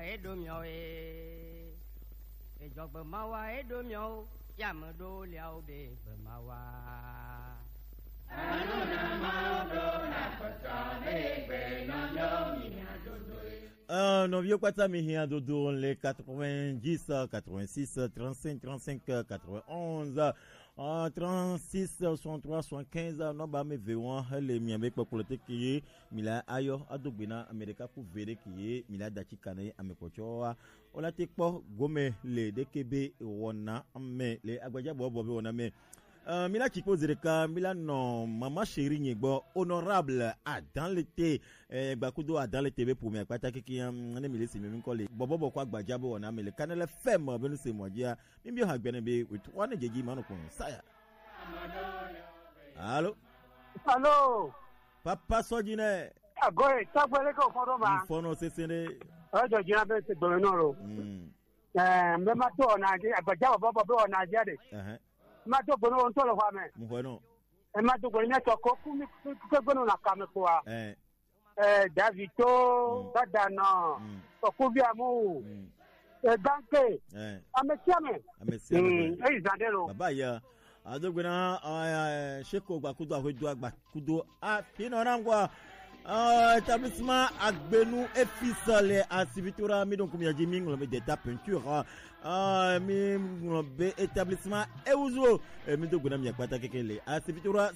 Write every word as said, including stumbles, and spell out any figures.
Eɖo miɔ e, ejɔgbe mawa eɖo miɔ o, yame ɖo liawo be gbe mawa. Euh, nɔviwo kpata mi hiã dodo le quatre-vingt-dix, quatre-vingt-six, trente-cinq, trente-cinq, quatre-vingt-onze, euh, trente-six, soixante-trois, soixante-quinze, nɔba me ve wan hele mi abe kpɔkplɔ te ke ye mi la ayɔ ado gbe na ame ɖeka ku ve ɖe ke ye mi la da tsi ka ne ame kpɔtsɔ wa. Wola te kpɔ gome le ɖeke be wɔna me le agbadza bɔbɔ be wɔna me. Euh, mi la tsi kpo zi ɖeka, mi la nɔ mama chérie nye gbɔ, honorable Adan Lete, eh, gbakudo Adan Lete be ƒome akpata keke ya, mm, ne mi le si mi mi kɔ le bɔbɔ bɔ kɔ agbadza be wɔna me le Kanɛlɛ F M be nu se mɔ dzia, mi bi ha gbɛnɛ be wetu wa ne dzedzi ma nɔ kpɔn saya. Alo? Alo? Papa Sɔdzi nɛ. Agoe, tagbe leke o fɔn ɖo ma? Fɔn nɔ sese ɖe. Ejɔ dzina be se gbeme nɔ lo. Mm. Eh, me ma to ona ge, agbadza bɔbɔ bɔ be ona ge de. Ɛhɛn. Ma to gbeme o ŋutɔ le xɔa me. Mo xɔe nɔ. E ma to gbeme ne tɔ ko ku mi ku ke gbenu na kame kpoa. Eh. Eh, David to, Mm. Dada nɔ. Mm. Tɔ ku bi amu. Mm. Eh, danke. Eh. Ame sia ame. Ame sia ame. Mm, eyi zan de lo. Baba ya. Ado gbe na, eh, Sheko gbakudo Ahwedo gbakudo afi nɔ na ŋgɔa. Ah, établissement Agbenu et Fils le Asivitora mi donc mi adzi mi ŋlɔ be Deta Peinture. Ah, mi ŋlɔ be établissement Ewuzo. Eh, mi do gbe na mi akpata keke le Asivitora